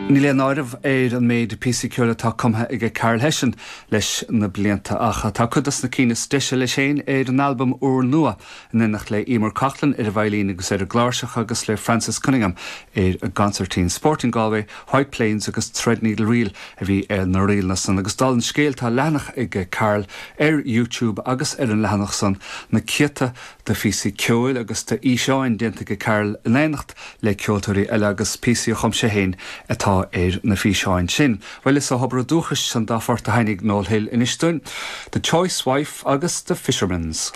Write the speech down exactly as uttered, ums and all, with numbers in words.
Níl aon áireamh ar an méid píosaí ceoil atá cumtha ag Carl Hession leis na blianta ach tá cuid de na cinn is deise leis féin ar an albam úrnua in éineacht le Emer Coughlan ar an veidhlín agus ar an gcláirseach agus le Francis Cunningham ar an gconsairtín Sporting Galway, White Plains agus Threadneedle Reel a bhí ar na ríleanna san agus dála an scéil tá leathanach ag Carl ar YouTube agus ar an leathanach san na céadta de phíosaí ceoil agus de fhíseáin déanta ag Carl in éineacht le ceoltóirí eile agus píosaí a chum sé féin atá ar na físeáin sin. Well is ó thobar dúchais an dá phort a tháinig Noel Hill anois dúinn, The Choice Wife agus The Fisherman's.